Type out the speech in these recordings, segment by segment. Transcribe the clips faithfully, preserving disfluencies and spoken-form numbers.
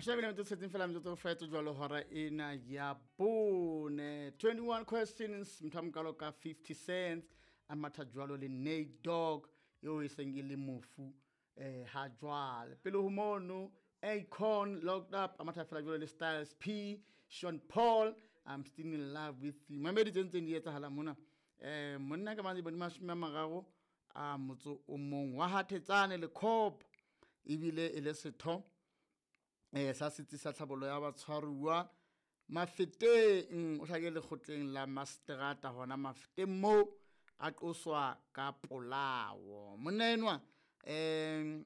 Mashome a mabedi a metso e tsheletseng fela metsotso go fetse jwalo hora ena ya bone. twenty-one questions, motho a mokalo ka fifty cents a matha jwalo le Nate Dogg eo e seng e le mofu eh ha jwale. Pele ho mono Akon Locked Up a matha fela jwalo le Styles P, Sean Paul, I'm Still in Love with You. Mamedi tse ntseng di etsahala mona. Eh monna ka mane bone mashome a mararo a motso o mong wa Hathetsane le Cop ebile e le setho eh sa setsi sa tlhabollo ya batshwaruwa Mafeteng, o hlakile lekgotleng la Mastrata hona Mafeteng mo a qoswa ka polao. Monna enwa eh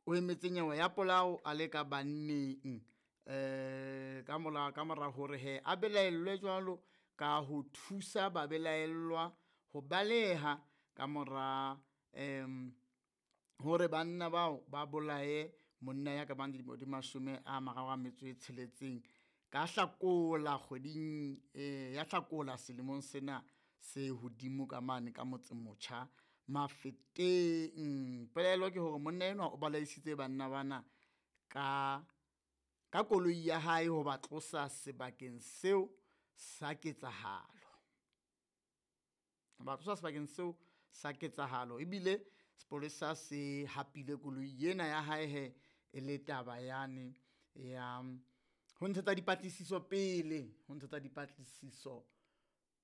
o emetse nyewe ya polao a le ka banneng eh ka mola ka mora hore he a belaellwe jwalo ka ho thusa ba belaellwa ho baleha ka mora em hore banna bao ba bolaye monna ya ka bang dilemo di mashome a mararo a metso e tsheletseng ka Hlakola kgweding eh ya Hlakola selemong sena se hodimo ka mane ka motse motjha Mafeteng. Pelaelo ke hore monna enwa o balaisitse banna bana ka ka koloi ya hae ho ba tlosa sebakeng seo sa ketsahalo. Ba tlosa sebakeng seo sa ketsahalo ebile sepolesa se hapile koloi ena ya hae he e le taba yane ya ho ntshetsa dipatlisiso pele, ho ntshetsa dipatlisiso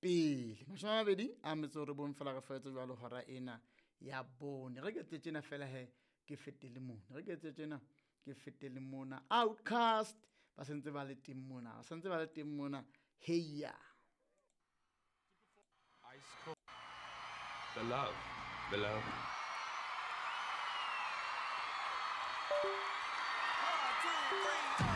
pele. Mashome a mabedi a metso e robong fela re fetse jwalo hora ena ya bone. Re ke tse tjena fela he ke fetele mona, re ke tse tjena ke fetele mona. Outcast ba sentse ba le teng mona, ba sentse ba le teng mona. Heya. Ice cold. The love, the love.